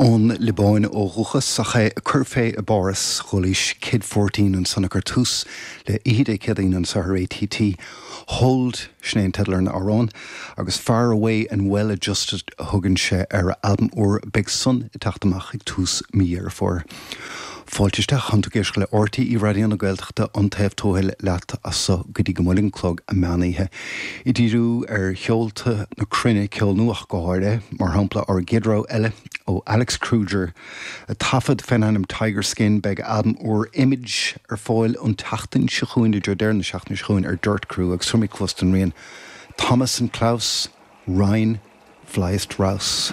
Ón Liobáin ó dhúchas ach é ag cur fé i bPáras, Chualaís Kid 14 ansan ag cur tús le Oíche Dé Céadaoin anseo ar ATT. Hold, sin é an teideal ar an amhrán, agus Far Away and Well Adjusted a thugann sé ar a albam úr, beidh san ag teacht amach ag tús mí Dheireadh Fómhair. Fáilte isteach, Tánn tú ag éisteacht le RTÉ Raidió na Gaeltachta, An Taobh Tuathail leat as so go dtí go mbuailfidh an clog an meán oíche. Ag díriú ar cheolta na cruinne, ceol nua ach go háirithe, mar shampla ár gcéad rogha eile ó Alex Kruger, a taifead fén ainm Tiger Skin, beidh a albam úr Image ar fáil an tseachtain seo chugainn, i dtreo deireadh na seachtaine seo chugainn ar Dirt Crew agus tabharfaimid cluas don rian Thomas and Klaus, Rein, Fliest Raus.